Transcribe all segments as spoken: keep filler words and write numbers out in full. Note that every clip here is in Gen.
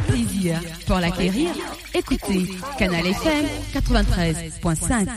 Plaisir pour l'acquérir. Écoutez Canal F M quatre-vingt-treize point cinq.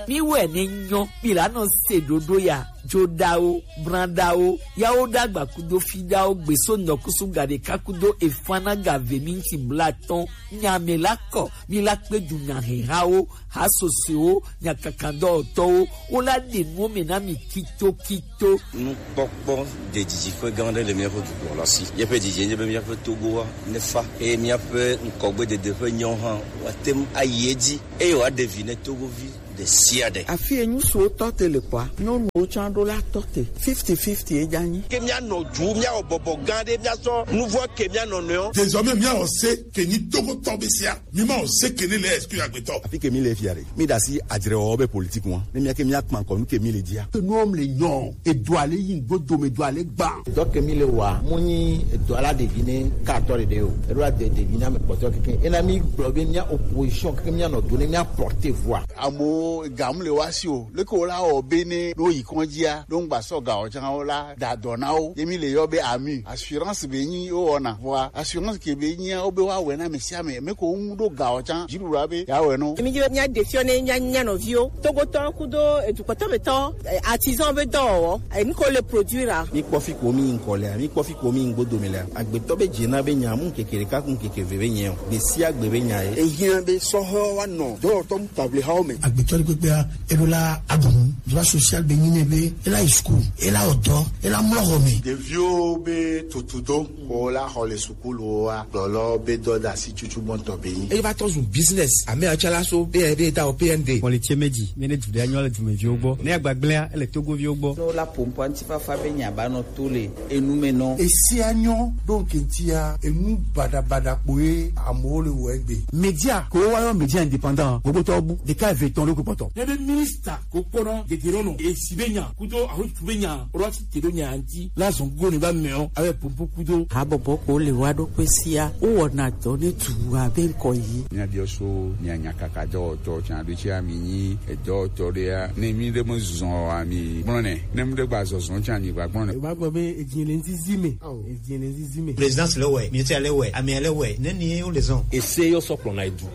Mi wɛ ne nyɔ, mi la nɔ se ɖoɖo ya, joɖawo, branɖawo, yawo ɖagba kudo fiɖawo, gbeso nɔkusu gaɖeka kudo efana gave minti blatɔn, nyame la kɔ, mi la kpe du nyahehawo, hasosewo, nyakakadɔwɔtɔwo, wo la ɖe nuwo me na mi kitokito. Nukpɔkpɔ ɖe didiƒe gã aɖe le míaƒe dukɔ la si. Míaƒe didi nye be míaƒe Togoa nefa eye míaƒe ŋkɔgbedede ƒe nyawo hã woate ŋu ayi edzi eye wòaɖe vi ne Togovi ɖe sia ɖe. Afi enyu siwo tɔ te le kɔa, nyɔnuwo tsã ɖo la tɔ te. Fifty fifty edza nyi. Ke míanɔ du, míawɔ bɔbɔ gã ɖe, míasɔ nuvɔ ke míanɔ nɔewo. Désormais, míawɔ se ke nyi Togotɔ be sia. Mi ma o se ke ne le esprit agbetɔ. Afi ke mi le fia ɖe, mi ɖe asi adzrewɔwɔ be politique ŋua. Ne mía ke mía kpa ŋkɔ nu ke mi le dzia. Ke nuwo le nyɔ, edoa le yi ŋgbo dome, edoa le gba. Edɔ ke mi le wa, mu nyi edɔ la ɖevi ne ka atɔ ɖeɖe o. Eɖo la de ɖevi na me kpɔtɔ keke. Ena mi gblɔ be mía opposition keke mía nɔ do ne mía porter voix. Amewo ga mu le wa si o. Leke wo la wɔ be ne ɖo yi kɔndzia, ɖo ŋgba sɔ ga o tsã wo la da dɔ na wo. Ye mi le yɔ be ami. Assurance be nyi wo wɔna. Vɔa assurance ke be nyia wo be wa wɛ na ame sia ame. Me ko ŋu ɖo ga o tsã. Dziɖuɖu be ya wɛ no. Mi dzo mía ɖe fiɔ ne mía, mía nɔviwo. Togotɔ kudo edukɔtɔ metɔ, eh, artisan be dɔwɔwɔ. Eh, nu ko le produire a. Mi kpɔ fi ko mi ŋkɔ lea, mi kpɔ fi ko mi ŋgbo dome lea. Agbetɔ be dze na be nya mu keke ɖeka ku keke ve be nyɛ o. Gbe sia gbe be nya ye. Ehiã be sɔhɔ wa nɔ dɔwɔtɔ mu table hawo me. Agbetɔ ɖe kpekpea, eɖo la aɖu nu. Droit social be nyi nɛ be ela yi school, ela wɔ dɔ, ela mlɔ xɔ me. Ɖeviwo be tutudo ko la xɔ le sukuluwo wa gblɔlɔ be dɔdasi tutu gbɔntɔ be nyi. Eye va tɔ zu business. Ame atsala so be be da o P N D. Kɔlitse meji, mi ne du ɖe anyɔ le dumeviwo gbɔ. Ne agbagblẽa, ele Togoviwo gbɔ. Ne wola ƒo ŋkɔ ŋutifafa be nya ba nɔ to le enu me nɔ. Esia nyɔ ɖo ŋke ŋutia, enu baɖabaɖa kpoe amewo le wɔ egbe. Media, ko woyɔ media indépendant, gbogbo tɔ bu, ɖeka eve etɔ̃ ɖo kpɔtɔ. Ne be minista ko kpɔna geɖe ɖo nɔ, esi be nya, kudo ahotu be nya, ro asi te ɖo nya ŋuti, la zɔn go ne ba mɛ o, abe popo kudo. Habɔbɔ ko le wa ɖo kpe sia, wowɔna dɔ ne du abe ŋkɔ yi. Míabiɔ so mia nyakaka dɔwɔtɔ tsã ɖo tsi ami nyi edɔwɔtɔ ɖea, ne mi ɖe mezɔn o, ami gblɔ nɛ, ne mi ɖe gba zɔzɔ tsã mi gba gblɔ nɛ. Eba gbɔ be edzi le nzizi me. Edzi le nzizi me. Présidence le wɛ, ministère le wɛ, amea le wɛ, ne ni wo le zɔn. Ese yɔ sɔ kplɔna edu.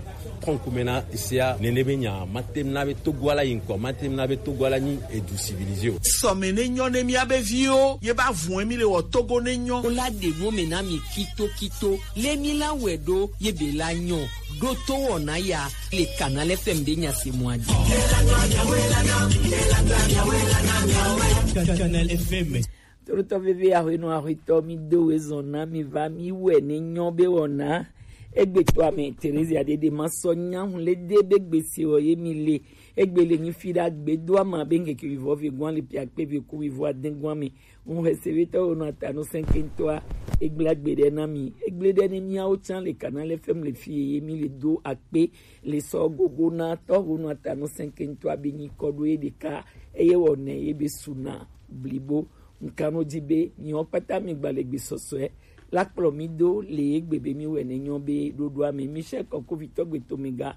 Kɔnkume na esea nene be nya, matem na be Togo ala yi ŋkɔ, matem na be Togo ala nyi edu civilisé o. Sɔme ne nyɔ ne mía be viwo, ye ba vun mi le wɔ Togo ne nyɔ. Wo la ɖe nu me na mi kito kito, le mi la wɛ ɖo, ye be la nyɔ. Ɖo to wɔna ya, le Canal F M be nya se mɔ adi. Canal F M. Tolotɔ veve ahuenɔ ahuetɔ, mi do we zɔn na mi va mi wɛ ne nyɔ be wɔna. Egbe to ame Theresia ɖeɖe ma sɔ nyahu le de be gbese wɔ ye mi le. Egbe le nyi fi ɖa gbe do ama be ŋkeke wivɔ ve gwan le pia kpe ve ku wivɔ ade gwan me. Ŋu hese ve tɔ wo nɔ ata nu sɛnkentɔa. Egble agbe ɖe na mi. Egble ɖe ne miawo tsã le Canal F M le fi ye mi le do akpe le sɔ gogo na tɔ wo nɔ ata nu sɛnkentɔa be nyi kɔ ɖo ye ɖeka. Eye wɔ nɛ ye be suna blibo. Ŋkanodzi be miwo kpata mi gba le gbesɔsɔe la kplɔ mi do le egbe be mi wɛ ne nyɔ be ɖoɖoa me. Michel Kɔkovitɔ Gbetomega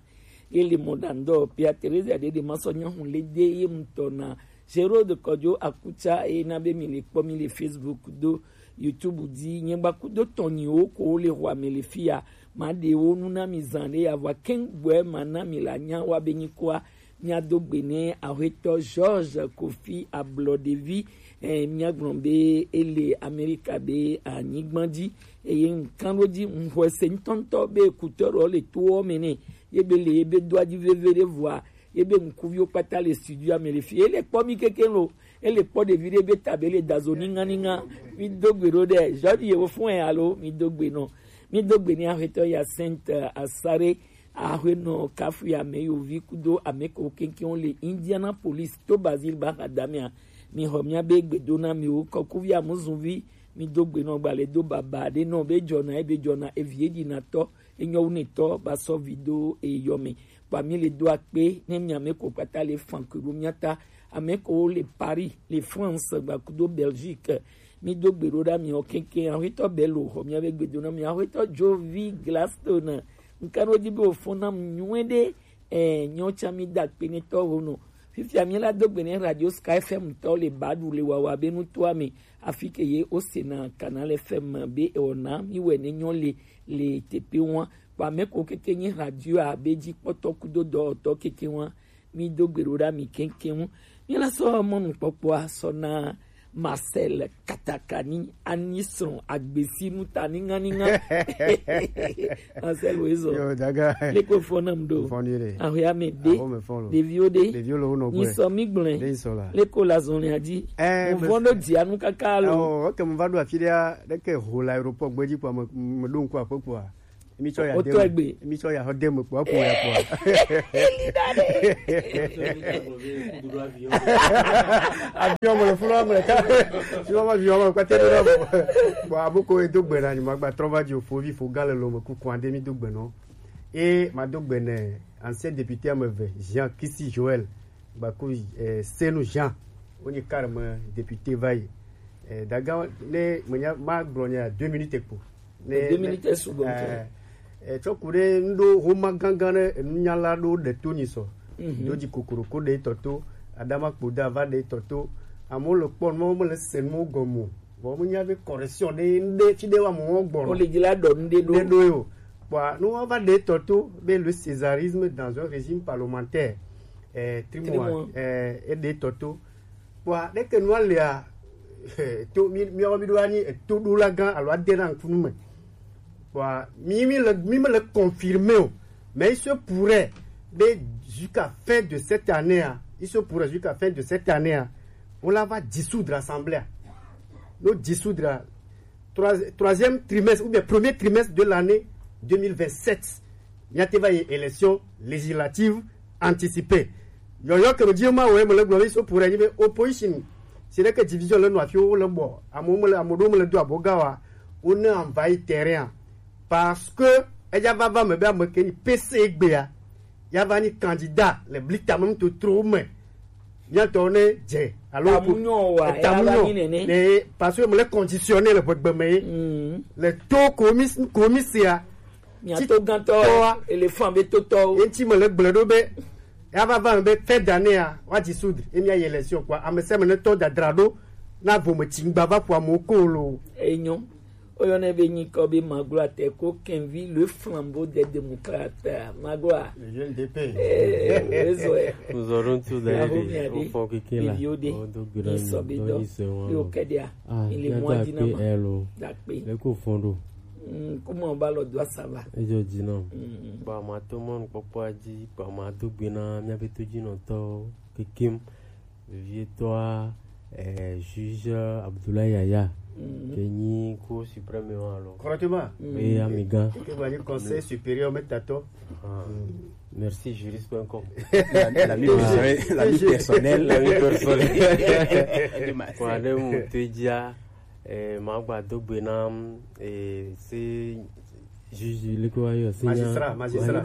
ye le mɔ ɖa ŋdɔ Pia Teresa ɖe ɖe ma sɔ nyahu le de ye ŋutɔ na Gerode Kɔdzo Akutsa ye na be mi le kpɔ mi le Facebook do YouTube dzi. Nye gba kudo tɔnyiwo ko le xɔ ame le fia ma ɖe wo nu na mi zan ɖe ya vɔ keŋ gbɔe ma na mi la nya wa be nyi koa. Míado gbe nɛ Aƒetɔ George Kofi Ablɔɖevi, eh, míagblɔ be ele Amerika be anyigba dzi, eye ŋkanɖodzi ŋxɔse ŋutɔŋutɔ be kutɔ ɖewo le towo me nɛ, ye be le ye be do adzi veve ɖe vɔa, ye be ŋkuviwo kpata le studio me le fi, ele kpɔ mi keke lo, ele kpɔ ɖevi ɖe be ta be le dazo ninga ninga, mi do gbe ɖo ɖe, George yewo fún ɛ alo, mi do gbe nɔ, mi do gbe nɛ Aƒetɔ Hyacinthe Asare, Aƒenɔ Kafuya Ameyovi kudo ame kewo keŋkeŋ le Indianapolis to Basil ba xadamea. Mi xɔ mia be gbedona miwo kɔkuvi amuzunvi, mi do gbe nɔ gbalẽ do baba ɖe nɔ be dzɔna ebe dzɔna evi edzi na tɔ enyɔ wu ne tɔ ba sɔ vi do eyɔ me. Kpa mi le do akpe ne mi ame ko kpata le fan ko ɖo mia ta. Ame ko le Paris, le France, gba kudo Belgique. Mi do gbe ɖo ɖa miwo keŋkeŋ. Aƒetɔ Bello xɔ mia be gbedona mi. Aƒetɔ Jovi Gladstone. Ŋkanodzi be wòfɔn nam nyuie ɖe. Eh, nyɔ tsã mi da akpe ne tɔwo nɔ. Fifia mi la do gbe ne Radio Sky F M tɔ le ba ɖu le wawa be nutoa me, afi ke ye o se na Canal F M be e wɔna mi wɛ ne nyɔ le le tepe wa. Kpa me ko keke nye radio a be ji kpɔtɔ kudo dɔ tɔ keke wa. Mi do gbe ɖo ɖa mi keke ŋu. Mi la sɔ mɔnu kpɔkpɔa sɔ na Marcel Katakani ani srɔ̃ agbesi nu ta ninga ninga. Marcel wo ezɔ. Yo, daga. Leko fɔ nam do. Fɔ ni re. Ahoya me de. Aho me fɔ lo. Ɖeviwo de. Ɖeviwo le wo nɔ gbe. Nyisɔ mi gblẽ. De nyisɔ la. Leko la zɔn ya di. Eh, mo fɔ do dia nu kaka lo. Oh, ok, mo va do afi ɖea, ɖe ke ho la aéroport gbe dzi kpɔ me, me ɖo ŋku aƒe kpɔa. Mi tsɔ ya de me. Otɔ egbe. Mi tsɔ ya xɔ de me kpɔa, ko ya kpɔa. Avion me le funu ame ɖeka. Sinon, ma avion me kpate ɖo ɖo. Bon, abu ko do gbe na ni ma gba trɔ va dzi o, fo vi fo ga le lo me kuku ande mi do gbe nɔ. E ma do gbe ne ancien député ame eve, Jean Kisi Joël. Gbaku, eh, Senu Jean, wonye carrément député va yi. Eh, daga ne menya ma gblɔ nya deux minutes kpo. Ne, deux minutes est sugbɔ ŋutɔ. Eh, tsɔ ku ɖe ŋɖo homa gangan ɖe enunyala ɖo ɖe to nyi sɔ. Mhm. Do dzi kokoroko ɖe tɔ to, Adama Kpoda va ɖe tɔ to. Amewo le kpɔ nuwo, mele se nuwo gɔme o. Vɔ menya be correction ɖe ŋɖe fi ɖe wa mo gbɔ. O le dzi la ɖɔ ŋɖe ɖo. Ŋɖe ɖo yo. Kpɔa, ne woava ɖe tɔ to be le césarisme dans un régime parlementaire, eh, trimoa, trimoa, eh, eɖe tɔ to. Kpɔa, ɖeke nua lea, to mi, mi, mi ɖo anyi, eh, to ɖo la gã alo ade na ŋkunu me. Kpɔa, mi, mi le, mi me le confirmé o. Mais il se pourrait, be jusqu'à fin de cette année, hein, il se pourrait jusqu'à fin de cette année, hein, on la va dissoudre l'assemblée. No dissoudre trois, troisième trimestre ou bien premier trimestre de l'année deux mille vingt-sept, il y a une élection législative anticipée. Yo, yo, que me dit, moi, ouais, me le gloire, so pour animer opposition. C'est là que division le noir, le bon. À mon, à mon, me le doit, bogawa, on a envahi terrain. Parce que, elle va, va me, me, me, P C B A. Ya va ni candidat le blita me to tro me. Mia tɔ ne dze alo tamunyɔ wa, tamunyɔ ne, parce que me le conditionné le gbegbe me. Mm. Le to komis, komisia. Mia to gantɔ, éléphant be to tɔ. Enti me le gblẽ ɖo be ya va va be fin d'année a, wa dissoudre, e mia yi élection quoi. Ame se me ne to dadra ɖo na vo me tingba va pour mo kolo. Enyo. Oyɔnɛ be nyikɔ be maglo atɛ ko Kenvi le flambeau des démocrates. Maglo a. Le jeune D P. Eh, eh, eh. Nous aurons tout d'ailleurs. Bravo, des enfants qui, qui là. Yo de. Oh, donc, ni so be do. Yo kedia. Ah, il est moins dinama. Dakpe. Le ko fondo. Mm, comment on va le doigt ça va? Et je dis non. Mm. Ba ma to mon popo aji, ba ma to gbena, mi a be to ji no to kekim. Vevietɔa, eh, juge Abdoulaye Yaya, ke nyi Cour suprême wa alo. Correctement. Oui, amiga. Ke va nyi Conseil supérieur me tato. Ah. Merci juriste point com. L'ami personnel, l'ami personnel. Kwa de mu teja, eh, magba dogbe na, eh, se juge le ko ayo, se magistrat, magistrat.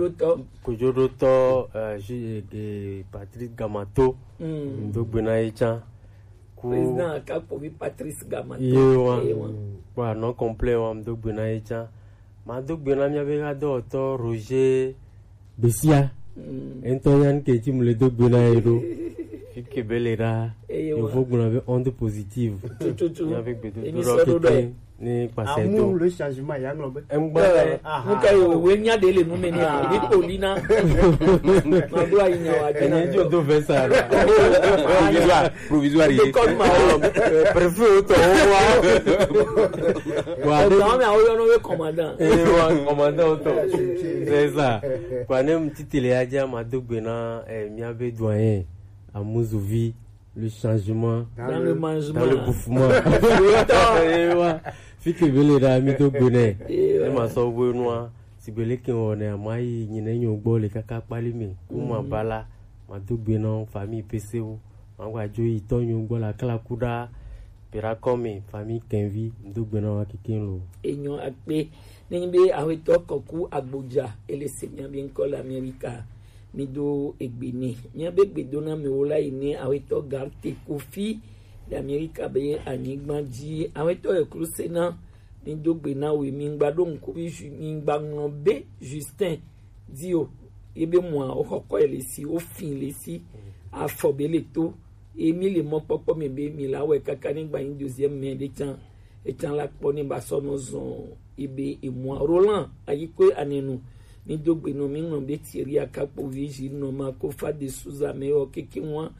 Kojoɖotɔ, eh, ju-, eh, Patrice Gamato. Mm. Ŋdo gbe na ye tsã. Ku président Akakpovi Patrice Gamato. Ye wa. Ye wa. Kpɔ anɔ complet wa, ŋdo gbe na ye tsã. Ma do gbe na mía be hadɔwɔtɔ Roger Besia. Mm. Ŋutɔ nya nu ke ŋuti mu le do gbe na ye ɖo. Fi ke be le ɖa. Eye wa. Yevu gblɔ be onde positive. Tututu. Mía be gbedodoɖa keke. Ni kpasɛ do. Amour, le changement, ya ŋlɔ be. Ŋgba. Eh, aha. Nuka yo, we nya de le nu me ni, ah, ni koli na. Ma do ayi nya wa de na. Enye jo do vesa. Provisoire, provisoire. De code ma. Eh, préfet o to wa. Wa de. Wa me o yo no we commandant. Eh, wa commandant o to. C'est ça. Kwa ne mu titele ya ja ma do gbe na, eh, mía be doyen. Amuzuvi. Le changement dans le, dans le bouffement. Ewa. Fi ke be le ɖa mi do gbe nɛ. Ewa. E ma sɔ gbe nua. Si be le ke wɔ nɛ, ma yi nyi ne nyo gbɔ le kaka kpali mi. Kuma bala. Ma do gbe nɔ famille P C O. Ma gba jo yi tɔ nyo gbɔ la kala kuɖa. Pera kɔmi famille Kenvi. Do gbe nɔ wa keke lo. Enyo akpe. Nenyi be awetɔ kɔku agbodza ele se mia be ŋkɔ le Amerika. Mi do egbe nɛ. Mía be gbedonamewo la yi ne awetɔ Garte Kofi le Amerika be anyigba dzi. Awetɔ Ekrusena, mi do gbe na we, mi ŋgba ɖo ŋku be Ju-, mi ŋgba ŋlɔ be Justin di o. Ye be mɔa, wo xɔ kɔ le si, wo fin le si. afɔ be le to. Emi le mɔkpɔkpɔ me be mi la wɛ kaka ne gba yin deuxième maire de can. Ecan la kpɔ ne ba sɔ nɔ zɔn ebe emua. Roland Ayikwe Anenu, mi do gbe nɔ mi ŋlɔ be Thierry Akakpovi ji nɔ ma ko fa de suza me yɔ keke ŋua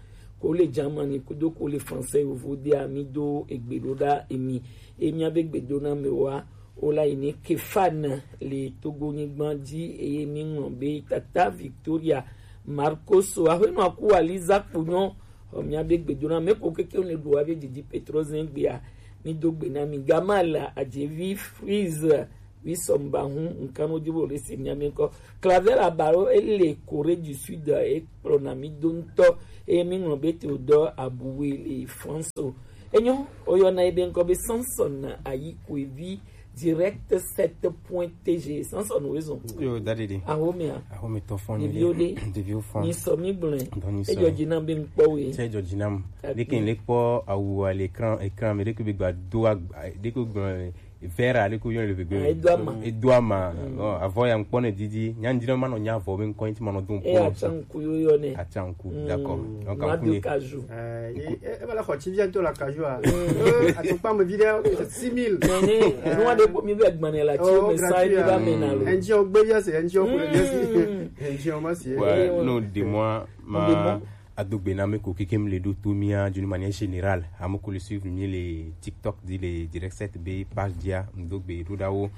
ko le Germany kudo ko le français yovo de a mi do egbe do da emi. Emi abe gbe do na me wa o la yi ne Kefan le Togo nyigba ji eye mi ŋlɔ be tata Victoria Marcos aƒenɔ aku Aliza Kpunyɔ. Ɔ, mía be gbedo na mɛ ko keke ne ɖo wa be didi Petro zɛn gbea, mi do gbe na mi. Gamal Adjevi Freeze, wi sɔmba hu nkan no dibo le se mía mi nkɔ. Clavel Abaro ele Corée du Sud e kplɔ na mi do ŋutɔ. E mi ŋlɔ be te o dɔ abuwe le France o. Enyo, o yɔ na ebe nkɔ be Samson Ayikwevi. Direct sept point T G. Sans son raison. Yo, daddy. Ahomia. Ahome to fon. Deviode. Deviu fon. Mi so mi blen. Ejo jina be nkpo we. Se ejo jina m. De ke le kpɔ awu à l'écran, écran, mais de ke be gba do a, de ke gba vera de ke yo le be. Edwama. Edwama. Bon, avant ya nkpo ne didi, nya ndina ma no nya vo be nkɔ nti ma no dun. E a chanku yo yo ne. A chanku. D'accord. Donc ma do kaju. Eh, e bala ko ti vient to la kaju a. Eh, atukpa mo video six mille. Nene, no wa de ko mi be gbane la ti o message ni ba me na lo. Enji o gbe ya se, enji o ko ya se. Enji o ma se. Ouais, non, de moi ma adogbe na me ko keke mi le do to mi a d'une manière générale. Amo ko le suivre mi le TikTok di le direct set be page dia, ndogbe do da wo.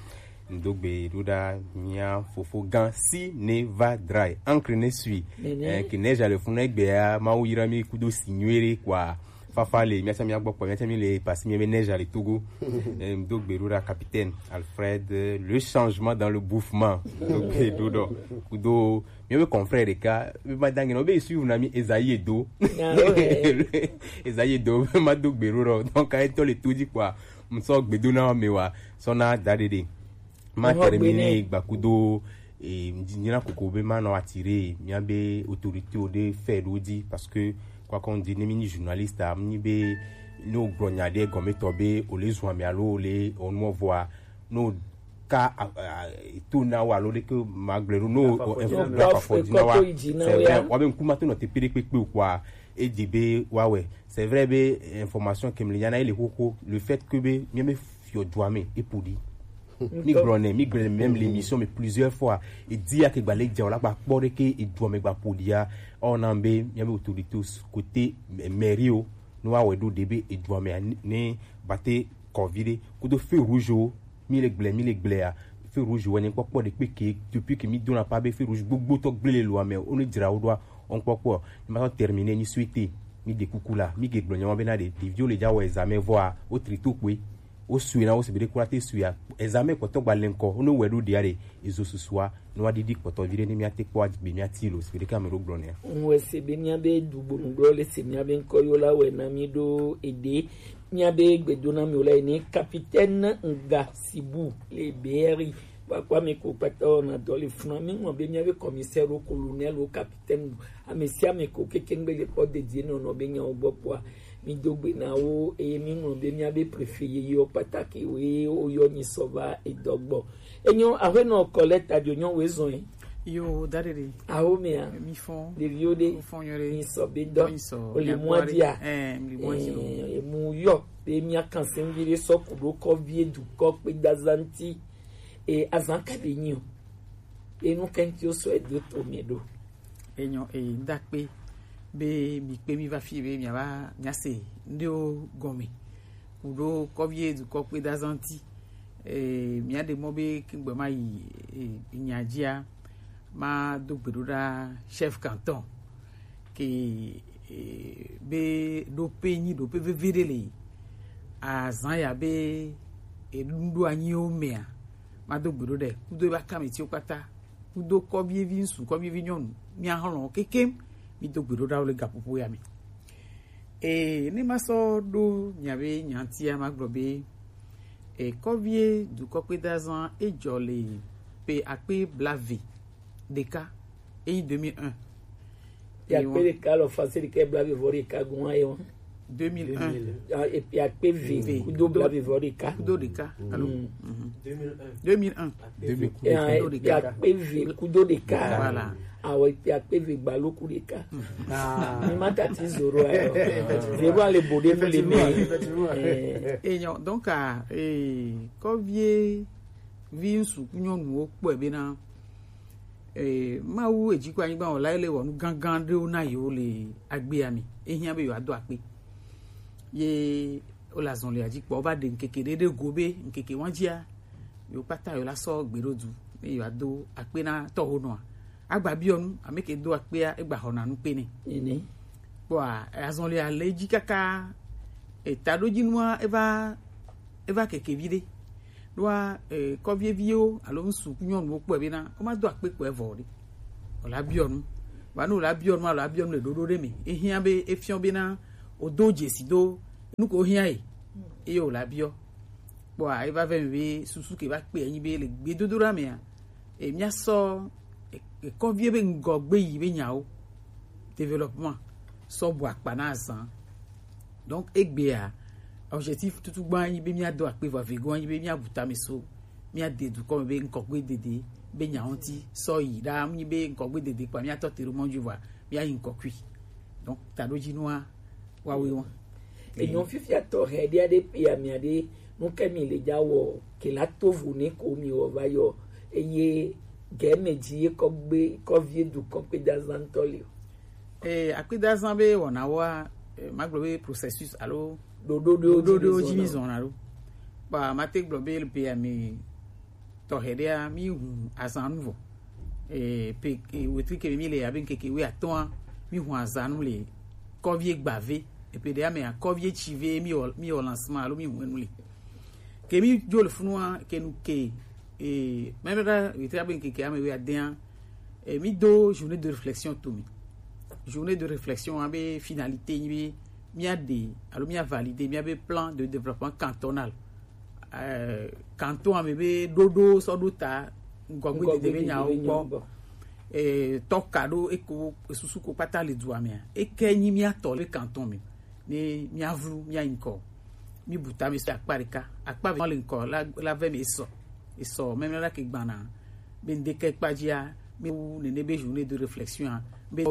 Ndogbe do da mia fofo gan si ne va dry. Encre ne sui. Eh, ki neige à le fond egbe a ma wo yira mi kudo signore quoi. Fafa le mia cha mia gbɔ kpɔ mia cha mi le pasi mi be neige à le Togo. Eh, ndogbe do da capitaine Alfred, euh, le changement dans le bouffement. Ndogbe do do. Kudo mi be confrère de ka be ma dangi no be suivre na mi Esaïe do. Esaïe do ma dogbe do do. Donc a eto le tout dit quoi. Ŋsɔ gbedo na me wa sɔ na da dede. Ma termine gbakudo e nyina koko be ma nɔ attirer mia be autorité o de fɛ do di parce que quoi qu'on dit ne mi ni journaliste a mi be no gblɔ nya de gɔme tɔ be o le zun ame alo o le o nɔ vɔa no ka to na wa lo de ke ma gblɔ do no info na pa fɔ di na wa. C'est vrai wa be nkuma to nɔ te pere kpekpe o quoi. E di be wa wɛ. C'est vrai be information ke mi le nya na ele koko le fait que be mi me fiɔ dua me e podi. Mi gblɔ nɛ, mi gblɔ même l'émission mais plusieurs fois. E di ya ke gba le dza o la gba kpɔ de ke e dua me gba podi ya. Ɔ na be mi be autorité côté mairie o no wa wɛ do de be e dua me ne bate covid de kudo feu rouge o. Mi le gblɛ, mi le gblɛ a. Feu rouge wɛ ne kpɔkpɔ de kpe ke depuis que mi dona pa be feu rouge gbogbo tɔ gblele lo ame o ne dzra o do a. On kpɔkpɔ ne ma sɔ terminer ni suite. Mi de kuku la mi ge gblɔ nyama be na de ɖeviwo le dza wɔ examen vɔa o tri to kpoe. O sue na o se be de kura te sue a examen kpɔtɔ gba le ŋkɔ o ne wɛ do de a de ezo susua. Ne wa didi kpɔtɔ vi ɖe ne mia te kpɔ agbe mia ti lo se be de ka me do gblɔ ne a. Ŋwɛ se be mia be du gbonu gblɔ le se mia be ŋkɔ yo la wɛ na mi do ede. Mia be gbedo na mi o la yi ne capitaine Nga Sibu le Beeri. Kpakpa mi ko kpata o na dɔ le funa mi ŋlɔ be mia be commissaire o colonel o capitaine o ame sia ame ko keke ŋgbe le kpɔ dedie nɔnɔ be nya o gbɔ kpɔa. Mi do gbe na wo eye mi ŋlɔ be mia be préfet yeye o kpata ke wo ye o yɔ nyi sɔ va edɔ gbɔ. Enyo aƒenɔ Colette Adio nyɔ wo ezɔn yi. Yo, da ɖe ɖe. Awo mea. Mi fɔn. Ɖeviwo ɖe. Wo fɔn nyɔ ɖe. Mi sɔ be dɔ. Mi sɔ. O le mɔ dia. Eh, mi le mɔ di lo. Eh, emu yɔ. Be mia kan se mi ɖe sɔ ku ɖo kɔ vie du kɔ kpe da zanti. E azan ka be nyi o. Be nu kɛnti o sɔ edo to mi ɖo. Enyo e da kpe. Be mi kpe mi va fi be mi ava mi ase. Ndi o gɔme. Kuɖo kɔvie dukɔ kpe da zanti. Eh, mia ɖe mɔ be kegbe ma yi, eh, nya dzia, ma do gbe ɖo ɖa chef canton. Ke, eh, be ɖo pe nyi ɖo pe veve ɖe le. Azan ya be, eh, ɖo anyi o mea. Ma do gbe ɖo ɖe. Kudo ba kame ti o kpata. Kudo kɔvie vi ŋsu, kɔvie vi nyɔnu. Mia hɔlɔ kekem. Mi do gbe ɖo ɖa wo le gaƒoƒo ya me. Ee, ne ma sɔ ɖo mia be nyatia ma gblɔ be, e, kɔvie dukɔ kpe da zan e dzɔ le pe akpe blave ɖeka, eyi deux mille un. Ya kpe ɖeka lɔ fase ɖeka blave vɔ ɖeka gun ayo. deux mille un. Ah, et puis akpe eve kudo blaeve vɔ ɖeka. Kudo ɖeka. Allô? Mhm. deux mille un. Deux mille un. Et puis akpe eve kudo ɖeka. Voilà. Awo, et puis akpe eve gbalo ku ɖeka. Mi ma tati zoro ayo. Zero ale bo ɖe mi le mi. Effectivement, effectivement. Eh. Et non, donc, ah, eh, kɔvie vi ŋsu ku nyɔnuwo kpɔe bena, eh, Mawu ejiko anyigba wɔla ele wɔ nu gangan ɖewo na yewo le agbea me. Ehiã be yewoado akpe. Ye wole azɔlia dzi kpɔ, wova ɖe ŋkeke ɖe ɖe go be ŋkeke wa dzia, yewo kpata yewo la sɔ gbe ɖo du, ne yewoado akpe na tɔhonɔa. Agba biɔ nu, ame ke do akpea, egba xɔna nu kpe nɛ. Nene. Kpɔa, azɔlia le edzi kaka, etaɖodzinua eva, eva keke vi ɖe. Ɖoa, eh, kɔvieviwo alo ŋsu ku nyɔnuwo kpɔe bena woma do akpe kpɔe vɔ o ɖe. Wòla biɔ nu. Vɔ ne wòla biɔ nu alo abiɔ nu le ɖoɖo ɖe me, ehiã be efiɔ bena wòdo dzesi do nu ko hiã ye, eye wòla biɔ. Kpɔa, eva vɛ mi be susu ke va kpe anyi be le gbedodoɖa mea, e, míasɔ, e, e, kɔvie be ŋgɔgbe yi be nyawo, développement, sɔ bu akpa na azã. Donc egbea, objectif tutu gbã anyi be míado akpe vɔ, vego anyi be míabu tame so, míade dukɔ me be ŋkɔgbe dede be nya ŋuti sɔ yi ɖa, nyi be ŋkɔgbe dede kpa míatɔ te ɖo mɔ dzi vɔa, míayi ŋkɔ kui. Donc taɖodzinua wawe wa. Enyɔ fifia tɔ hɛ ɖe aɖe pe amia ɖe nu ke mi le dza wɔ ke la to vo ne ko mi wɔ va yɔ eye gɛ me dzi ye kɔ gbe kɔ vie dukɔ kpe da zan tɔ le o. Eh, akpedazã be wɔnawoa, eh, magblɔ be processus alo ɖoɖo ɖewo dzi mi zɔna ɖo. Ba mate gblɔ be le pe ame tɔxɛ ɖea, mi hu azã nu vɔ. Eh, pe, eh, wetri ke mi le abe ŋkeke wuiatɔ̃a, mi hu azã nu le kɔvie gbave. Epe ɖea mea, kɔvie tsi ve mi wɔ, mi wɔ lancement alo mi hu enu le. Ke mi dzo le funua, ke nu ke, eh, mɛ ɖe wetri abe ŋkeke ame wuiadea, eh, mi do journée de réflexion to mi. Journée de réflexion abe finalité nyi be mia de alo mia valider mia be plan de développement cantonal. Eh, canton ame be ɖoɖo sɔ ɖo ta ŋgɔgbe dede be nyawo gbɔ. Eh, tɔka ɖo eko susu ko kpata le dua mea. Eke nyi mia tɔ le canton me. Ne mia vlu mia ŋkɔ. Mi bu tame so akpa ɖeka. Akpa ve le ŋkɔ la, la ve me esɔ. Esɔ, mɛmlɛ la ke gbana. Be ŋdeke kpadzia, mi wu nene be journée de réflexion a, be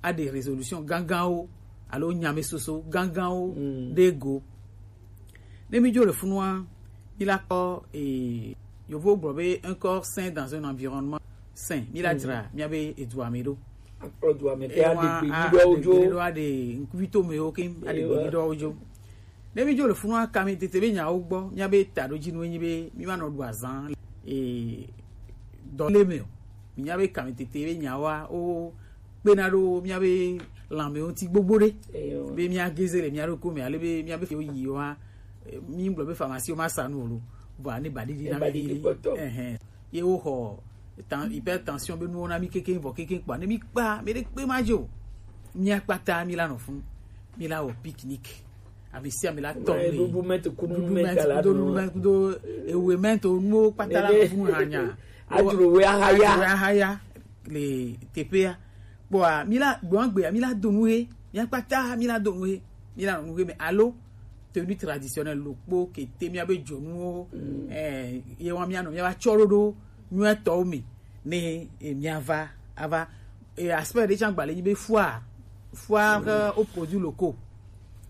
a des résolutions ganganwo, alo nyamesoso ganganwo ɖe go. Ne mi dzo le funua, mi la kpɔ, eh, yovo gblɔ be un corps sain dans un environnement sain. Mi la dzra mia be edua me ɖo. Akplɔ dua me ke aɖe gbe ɖo dzo. Aɖe ŋkuvitomewo ke aɖe gbe ɖo dzo. Ne mi dzo le funua, kame tete be nyawo gbɔ, mia be taɖodzinue nyi be mi ma nɔ ɖu azã, eh, dɔ le me o. Mi nya be kame tete be nyawoa, wo kpena ɖo mia be lãme ŋuti gbogbo ɖe. Be mia geze le mia ɖokui me, ale be mia be fi wo yi wa, eh, mi gblɔ be pharmacie wo ma sa nu o lo. Vɔa ne ba ɖiɖi na mi. Ɛhɛn. Ye wo xɔ tan-, hypertension be nuwo na mi kekeŋ vɔ kekeŋ kpa. Ne mi kpa, mi ɖe kpe ma dzo. Mia kpata mi la nɔ funu. Mi la wɔ picnic. Ame sia ame la tɔ le. Ɖuɖu mɛnto kudo nu mɛnto kudo ewe mɛnto nuwo kpata la funu hanya. Adzro we ahaya. Adzro we ahaya le teƒea. Kpɔa, mi la gbɔn gbea, mi la do nu he. Mia kpata mi la do nu he. Mi la nu he me alo tenue traditionnelle lo kpo kete mia be dzonuwo. Eh, ye wa mia nɔ mia va tsɔ ɖo ɖo nyuetɔwo me. Ne, eh, mia va, ava, eh, aspect ɖe tsã gba le nyi be foire, foire, eh, aux produits locaux.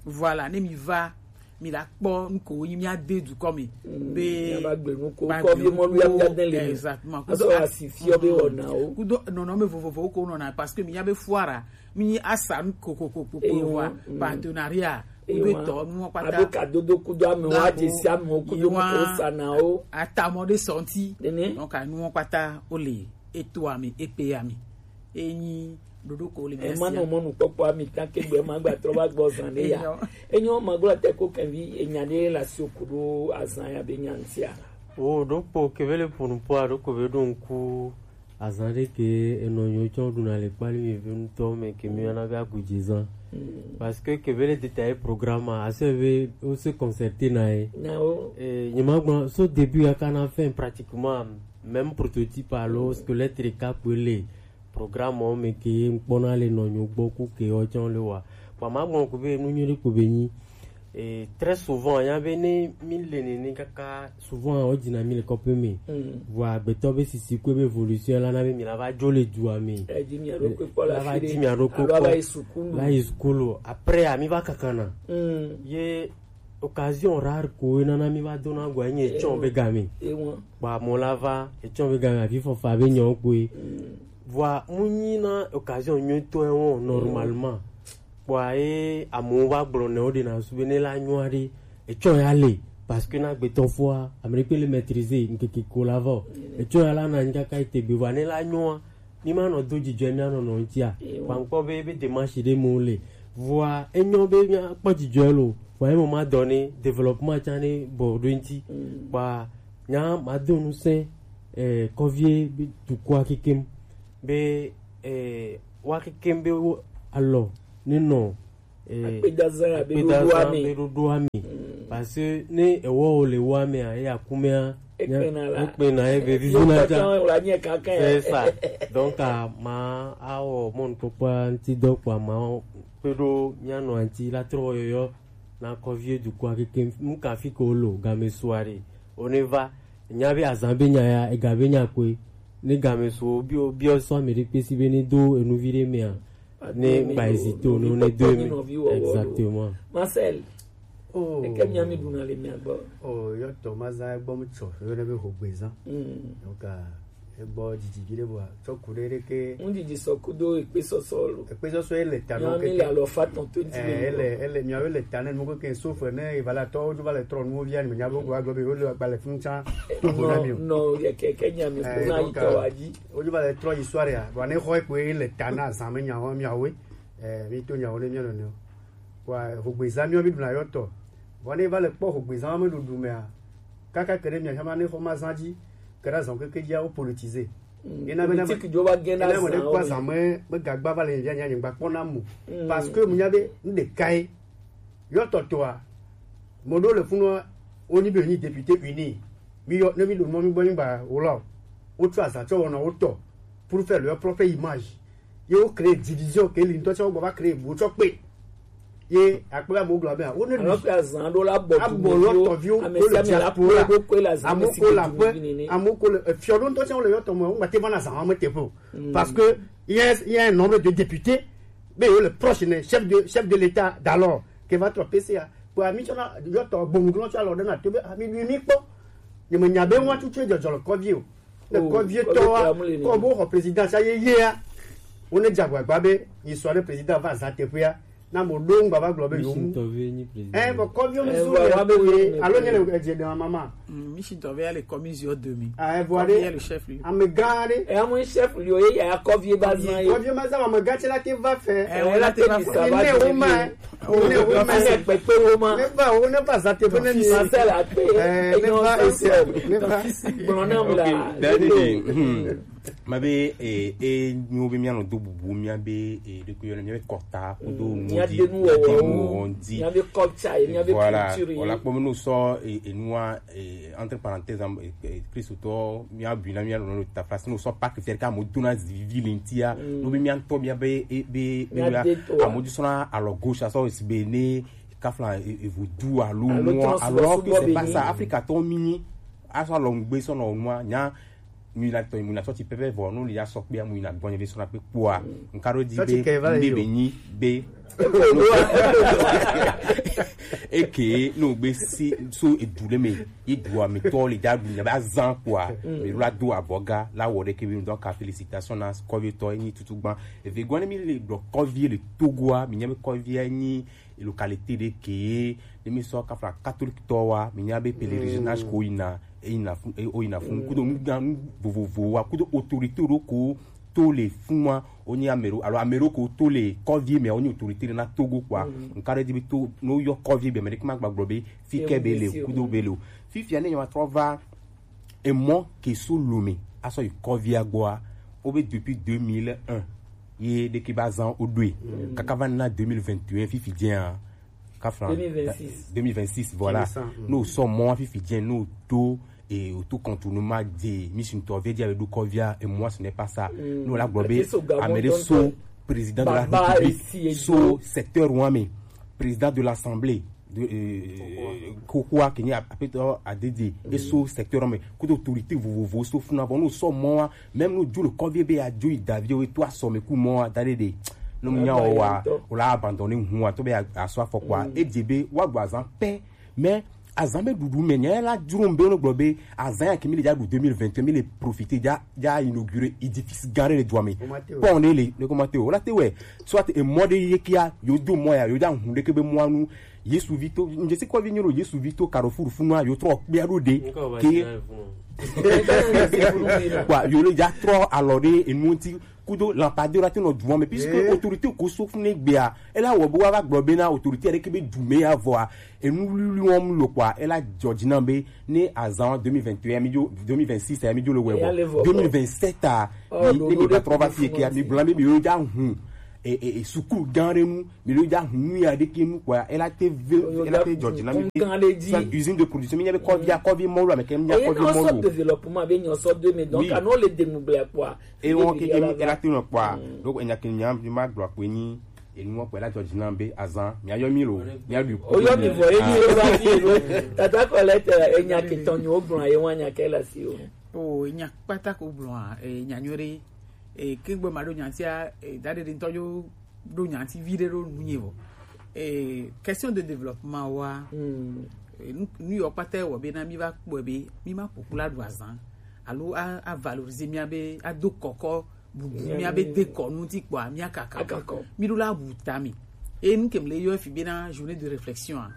Voilà, ne mi va, mi la kpɔ nu ko wo nyi mia de dukɔ me. Be mia va gbe nu ko, kɔ vie mɔlu ya mia de le. Exactement. Azɔ asi fiɔ be wɔnawo. Kudo nɔnɔme vovovowo ko nɔna parce que mi nya be foire a, mi asa nu kokokoko wa partenariat. Kudo etɔ nuwo kpata. Ado kadodo kudo amewo, adzesi amewo kudo nuwo sanawo. Atamɔ ɖe sɔnti. Nene. Donc anuwo kpata wo le eto ame, ekpe ame. Enyi ɖoɖo ko le mia sia. Ema nɔ mɔnukpɔkpɔ ami ta ke gbe ma gba trɔ va gbɔ zan ɖe ya. Enyo. Enyo ma gblɔ te ko kɛvi enya ɖe le asi o kudo azan ya be nya ŋutia. Wo ɖo kpo kebe le ƒo nu kpoa ɖo ko be ɖo ŋku azã ɖe ke enɔ nyo tsɔ ɖuna le kpali mi ve ŋutɔ me ke mi yɔna be agudzezã. Parce que ke be le détailler programme a, ase be wo se concerter na ye. Na wo. Eh, nye ma gblɔ so début ya kana fin pratiquement même prototype alo squelette ɖeka kpoe le programme wo me ke ŋkpɔna le nɔ nyo gbɔ ku ke wo tsɔ le wa. Bon, ma gbɔn ko be nu nyuie ɖe ko be nyi. Et très souvent, il y avait ne mi le nene kaka souvent o dina mi le kɔpe me. Vɔ agbetɔ be sisi ko be évolution la na be mi la va jo le du ame. Edi mi ado ko kpɔ la La va fi di de. Mi ado ko Alo va kpɔ. Yi sukulu. Va yi sukulu. Après, ami va kakana. Ye occasion rare ko e nana mi va dona gwa nye etsɔ be game. Ewa. Kpa mɔ la va etsɔ be game afi fɔfa be nyɔ ko e. Vɔ mu nyi na occasion nyuie tɔ e wɔ normalement. Kpɔa ye amewo va gblɔ nɛ wo ɖe na su be ne la nyɔa ɖe etsɔ ya le, parce que na gbetɔ fɔa ame ɖe kpe le maîtriser nkeke ko la vɔ etsɔ ya la na nyi kaka ete gbe vɔ ne la nyɔa mi ma nɔ do dzidzɔ mi anɔ nɔ ŋutia kpankpɔ be be démarche ɖe mo le vɔa enyɔ be mi akpɔ dzidzɔ lo vɔa emo ma dɔ ne développement tsa ne bɔ ɖo ŋuti kpɔa nya ma do nu sɛ eh, kɔvie be dukɔa kekem be eh, wa kekem be wo alɔ ne nɔ eh, akpedazã ya be akpedazã ɖoɖoa me be ɖoɖoa me parce que ne ewɔ wo le wa mea eya kumea Ekpena la. Ekpena ye be vivina tsa. Kpata la nye kankan. C'est ça. Donc a ma awɔ mɔnukpɔkpɔa ŋuti dɔ kpɔa ma kpe ɖo mia nɔ ŋuti la trɔ yɔyɔ na kɔvie dukɔa keke nu ka fi ke wolo game soa ɖe wone va nya be azã be nya ya ega be nya koe ne game so biɔ biɔ sɔ ame ɖe kpe si be ne do enuvi ɖe mea ne gba hésité o ne ne do eme exactement. Marcel. Oh. Eke mia mi ɖuna le mia gbɔ. Oh, yɔ tɔ ma zã egbɔ mu tsɔ yɔ ne be hogbezã. Donc egbɔ dzidzi vi ɖe bua tsɔ ku ɖe ɖe ke. Ŋdidi sɔ kudo ekpe sɔsɔ lo. Ekpe sɔsɔ ele ta no keke. Mia mi le alɔ fa tɔn twenty million. Ele ele mia le ta ne nuko ke sofe ne evala tɔ wo va le trɔ nuwo via ne mia bo gba gba be wo le gba le fun tsa. No no ye ke ke nya mi ko na yi tɔ wa ji. Wo va le trɔ yi soirée a. Wa ne xɔ ekpe ele ta na zame nya ho mia we. Eh mi to nya wo ne mia no ne. Kpɔa hogbezã miɔ mi ɖuna yɔ tɔ. Vɔ ne va le kpɔ hogbezã me ɖuɖu mea, kaka ke ɖe mia xama ne xɔ ma zã dzi, ke ɖe azã keke dzia wo politize. Ena be na me ena me ɖe kpɔ azã me me gagba va le via nya nyigba kpɔ na mo. Parce que mu nya be n ɖeka ye. Yɔ tɔ tɔa, mo ɖo le funua, wo nyi be nyi député uni. Mi yɔ ne mi ɖo mɔ mi gbɔ mi gba wo la. Wo tsɔ azã tsɔ wɔna wo tɔ pour faire leur propre image. Ye wo créer division ke li ŋutɔ tsɛ wo gbɔ va créer bo tsɔ kpe. Ye akpe amewo gblɔ be wo ne ɖu. Alors que azã ɖo la bɔ abɔ lɔ tɔviwo to le diaspora. Amewo ko le aƒe, amewo ko le efiɔ ɖo ŋutɔ tsɛ wo le yɔ tɔmɔ wo ŋgbate va na azã wa me teƒe o. Parce que il y a il y a un nombre de députés be yo le proche ne chef de chef de l'état d'alors ke va trɔ P C A. Kpɔa mi tsɔ na yɔ tɔ gbɔnu glɔ tsɔ alɔ ɖe na to be ami mi mi kpɔ. Ne me nya be ŋua tutu dzɔdzɔ le kɔvi o. Ne kɔvietɔa kɔ bo xɔ président sa yeyea wo ne dze agbagba be yi sɔ ɖe président va za teƒea na mo ɖo ŋgba va gblɔ be yo mu ɛ bɔ kɔviwo mi su le to ye alo nye le edze ɖe mama. Mission tɔvɛ ya le kɔmi ziɔ demi. Ah, evo aɖe. Kɔmi ya le chef lieu. Amegã aɖe. Eya mo chef lieu ye ya kɔvi ba zan ye. Kɔvi ma zan amegã tse la te va fɛ. Ɛ wala te va fɛ. Ne wo ma. Wo ne wo ma. Ne kpekpe wo ma. Ne va wo ne va za teƒe ne mi. Marcel akpe. Eh, ne va ese. Ne va. Gblɔ na mu la. Daddy. Ma be e e nyo be mia no do bubu mia be e de ko yo mia be kɔta ko do mu di mu di. Mia be culture, mia be culture. Voilà. Wala kpɔ me no sɔ e nua entre parenthèses Christotɔ mia bu na mia no ta place no sɔ pas faire ka mo dona zivi lentia. No be mia ntɔ mia be e be be la amo du sona alors gauche ça aussi be ne kafla e vodu alo mo alors que c'est pas ça Africa to mini aso alɔ ngbe sɔ no mo nya mi la tɔ mi na tɔ ti pɛpɛ vɔ no li ya sɔ kpe amu na gbɔnye be sɔ na kpe kpoa nka ɖo di be be be nyi be eke no gbe si so edu le me edu a me tɔ le ja du nya ba zan kpoa me la do abɔga la wɔ ɖe ke be donc félicitations na kɔvi tɔ ni tutu gban eve gwan mi le blɔ kɔvi le Togoa mi nya be kɔvi ni localité ɖe ke ne mi sɔ kafla catholique tɔ wa mi nya be pèlerinage ko yina e yina fun e o yina fun kudo nu gan nu vovovo wa kudo autorité ɖo ko to le fun wa o nyi amero alo amero ko to le kɔvi me o nyi autorité ɖe na Togo kpoa nka ɖe di be to no yɔ kɔvi be me ɖe kuma gbagblɔ be fi ke be le kudo be le o fifia ne nyɔ trɔ va emɔ ke so Lomé asɔ yi kɔvia gbɔa o be depuis deux mille un ye ɖe ke ba zan o ɖoe kaka va na deux mille vingt et un fifi jɛn kafran deux mille vingt-six. Deux mille vingt-six voilà no sɔ mɔ fifi jɛn no to e o to contournement de mi si ŋutɔ vie dia be ɖo kɔvia e moi ce n'est pas ça no la gblɔ be ame ɖe so Président de la République, so secteur wa me, président de l'Assemblée de, euh, kokoa ke nyi apetɔ adede, e so secteur wa me, kudo autorité vovovo so funa bɔ no so mɔ wa, même no jo le kɔvi be a jo yi davi o to asɔ me ku mɔ wa da de de. No mu nya o wa, o la abandonner hu wa to be a so afɔkua. E je be wa gba zan pɛ. Mais azan be ɖuɖu me nya la jro be no gblɔ be azan ya ke mi le ja ɖu deux mille vingt et un, mi le profiter ja ja inaugurer édifice gã ɖe le dua me. Pɔn ne le ne kɔma te o la te wɛ, soit e mɔ ɖe ye kia yo do mɔ ya yo ja hun ɖe ke be mɔ anu. Yesu vi to nje si kɔvi nyo Yesu vi to carrefour funu a yo trɔ kpia ɖo ɖe ke kwa yo le ja trɔ alɔ ɖe enu ŋuti. Kudo lampadaire te nɔ dua me, puisque autorité ko so fune gbea, e la wɔ be wa va gblɔ be na autorité ɖe ke be du me ya vɔa, enu wliwli wɔm lo kwa, e la jɔ dzi na be ne azan deux mille vingt et un mi jo, deux mille vingt-six ya mi jo le wɛ vɔ, deux mille vingt-sept a mi ne mi va trɔ va fi ke mi bla be mi yo ja hun e e e suku gã ɖe nu, mi yo ja hun nu ya ɖe ke nu kwa, e la te ve, e la te jɔ dzi na mi be soit usine de production mi nya be kɔvi ya kɔvi mɔ lo ame ke mi nya kɔvi mɔ lo. Développement be nyɔ sɔ deux mille, donc anɔ le demu ble kwa. E wɔn keke mi ela te nɔ kpɔa. Donc enya ke nya mi ma gblɔ akpe nyi enu wɔn kpɛ la jɔ dzi nam be azan mi ayɔ mi lo mi aɖu. Oyɔ mi vɔ ye mi lo va fi lo. Tata kɔ lɛ tɛ enya ke tɔn nyi wo gblɔ ye wɔn nya ke la si o. O enya kpata ko gblɔ a enya nyo ɖe. E ke gbe ma ɖo nya tia e da ɖe ɖe ŋutɔ yo ɖo nya ŋuti vi ɖe ɖo nu nye vɔ. E question de développement wa. E nu nu yɔ kpata wɔ be na mi va kpɔe be mi ma kpokpla ɖu azan alo a a valoriser mia be a do kɔkɔ bubu mia be dekɔnu ŋuti kpɔa mia kaka mi ɖo la wu ta mi. E nu ke mi le yɔ fi be na journée de réflexion a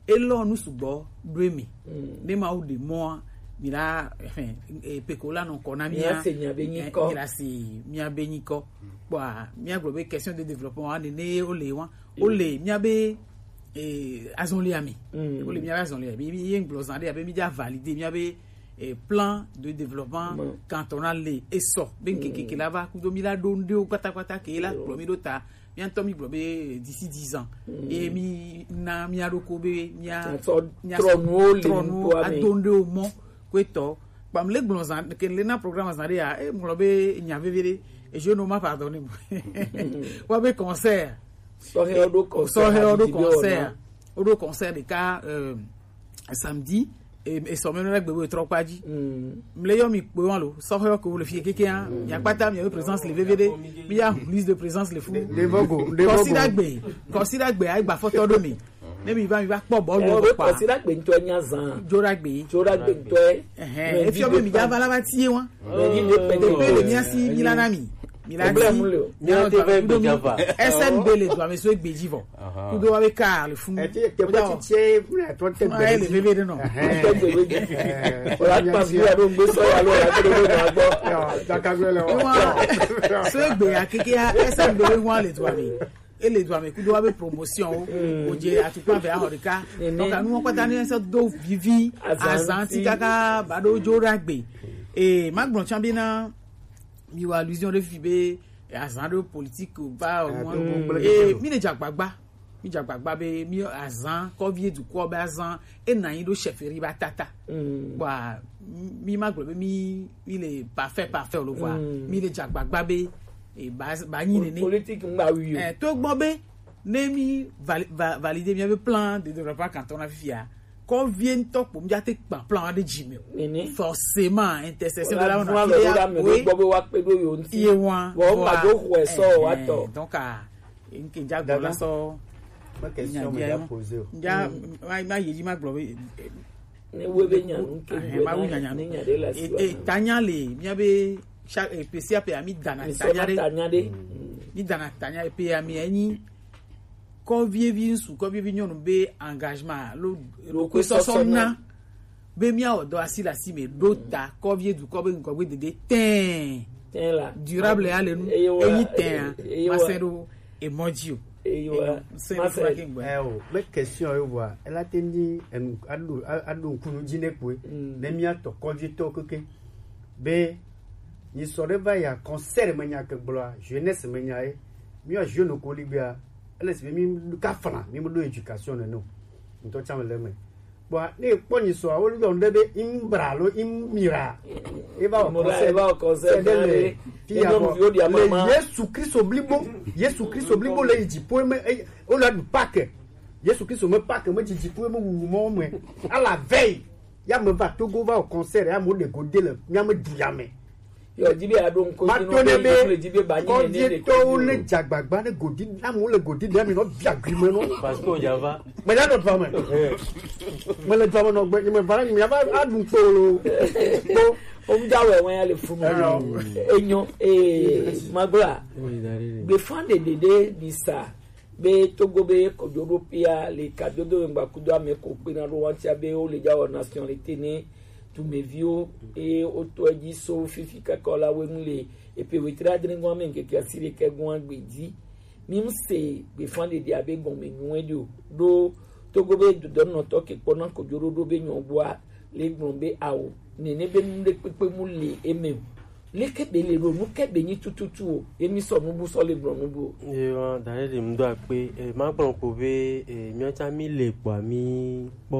e lɔ nu sugbɔ ɖo emi ne ma wo ɖe mɔa mi la ɛhɛn e peko la nɔ kɔ na mia mi la se mia be nyikɔ kpɔa mia gblɔ be question de développement wa nene wo le wa wo le mia be eh, azɔlia mi. Wo le mia be azɔlia mi mi ye gblɔ zan ɖe abe mi dza valide mia be eh, plan de développement cantonal le esɔ be nkekeke la va kudo mi la ɖo ŋɖewo kpatakpata ke la kplɔ mi ɖo ta mia ŋutɔ mi gblɔ be d'ici dix ans ye mi na mia ɖoko be mia mia trɔnuwo le trɔnuwo ŋutɔa me ado ŋɖewo mɔ ko etɔ kpam le gblɔ zan ke le na programme zan ɖe ya e gblɔ be nya veve ɖe e je no ma pardonne mo wa be concert sɔhɛ o do concert sɔhɛ o do concert o do concert ɖeka euh, samedi e sɔmɛ no la gbe wo trɔ kpa dzi mle yɔ mi kpe wan lo sɔhɛ o ke wo le fie keke ya mi akpata mi présence le veve ɖe mi ya liste de présence le fu kɔsi dagbe kɔsi dagbe ayi gba fɔtɔ do mi ne mi va mi va kpɔ bɔ yo kpa kɔsi dagbe ŋutɔ nya zan jo dagbe jo dagbe ŋutɔ ɛhɛn efiɔ be mi dza va la va tie wa Teƒe le mía si, mi la na mi. Mi la si. Mía te ve gbe Java. S N B le dua me so egbe dzi vɔ. Kudo wa be ka le funu. Ete te bo ti tie funu ato te gbe. Le veve de no. Te gbe. O la pa bi wa do gbe so ya lo la ko do na gbo. Yo, ta ka gbe le o. So egbe ya keke ya S N B le wa le dua me. Ele dua me kudo wa be promotion o. O je atukpa ve ahɔ ɖeka. Donc anu kpata ni so do vivi azanti kaka ba do jo dagbe. Eh, ma gblɔ tsã be na mi wa allusion ɖe fi be azan ɖe politique va o. Eh, mi le dzagbagba. Mi dzagbagba be mi azan kɔvi dukɔ be azan e na yi ɖo chefferie ba tata. Bwa mi ma gblɔ be mi mi le parfait parfait o lo bwa mi le dzagbagba be e ba ba nyi nene. Politique ngba wi o. Eh, to gbɔ be ne mi vali- va- valider miabe plan de développement canton na fifia kɔvie ŋutɔ kpo mi ate kpa plan aɖe dzi me o. Forcément intercession de la wona fi ya koe gbɔ be wa kpe ɖo yo ŋuti ye wa vɔ ma do xɔe sɔ wa tɔ. Donc a nke dza gbɔ la sɔ me question me ya poser o. Dza ma ma yi dzi ma gblɔ be ne wo be nya nu ke ma wu nya nya nu e tanya le miabe chaque pe sia pe ami dana tanya ɖe mi dana tanya pe ami enyi kɔvievi ŋsu kɔvievi nyɔnu be engagement alo ɖokuisɔsɔ na be míawɔ dɔ asi le asi me ɖo ta kɔvie dukɔ be ŋgɔgbe dede tɛɛ durable ya le nu enyi tɛɛ masɛ ɖo emɔ dzi o. Eyo, sɛ ma sɛ ke gbɛ. Ɛ o, me question yo bua, ela te ni enu ado ado nkunu dzi ne kue. Ne mía tɔ kɔdzi tɔ keke. Be ni sɔ ɖe va ya concert me nya ke gblɔa, jeunesse me nya ye. Mía jeune ko ligbea, ele si mi ka fana, mi mo do éducation ne no. Ntɔ tsam le me. Bon, ne kpɔ nyi sɔ, wo yɔ ŋɖe be Imbra lo Imira. Eva o Imura, concert. Eva o concert ɖe le ɖe. Fi ya. Enyo bɔ. Yo dia le mama. Yesu Kristo blibo, Yesu Kristo blibo le yi dziƒo me, e, wo la du Pâques. Yesu Kristo me Pâques me dzi dziƒo me wuwu mɔ me. Ala veille. Ya me va Togo va o concert, ya mo de go de le, ya me du ya me. Yo, dzi be aɖo ŋkɔ dzi nɔ be le dzi be ba nyi nene le kɔdzi tɔwo le dzagbagba ne godi, amewo le godi ɖe mi nɔ bia gui me nɔ. Parce que o dza va. Me ya nɔ dua me. Me le dua me nɔ gbe, me va, me ya va aɖu kpo lo. Kpo. O ŋdza wɛ wɛ ya le funu. Enyo. Enyo, eh, magblɔa. Gbefa ɖeɖe ɖe ɖi sa. Be Togo be kojoɖoƒea le kadodo ŋgba kudo ame ko kpena ɖo wantia be wo le dza wɔ nationalité ne dumeviwo eye wotɔ edzi so fifi kaka la wenu le epe wetri adre gɔn ame ŋkeke asi ɖeka gɔn agbe dzi. Mi mu se gbefa ɖeɖe abe gɔme nyuie ɖe o. Ɖo Togo be dodɔnɔtɔ ke kpɔna kojoɖoɖo be nyɔgbɔa le gblɔ be awo nene be nu ɖe kpekpe mu le eme o. Leke be le ɖo nu ke be nyi tututu o, emi sɔ nubu sɔ le gblɔ nubu o. Ye wa, da ɖe ɖe mu do akpe, e, ma gblɔ ko be, e, míawo tsã mi le gbɔa mi kpɔ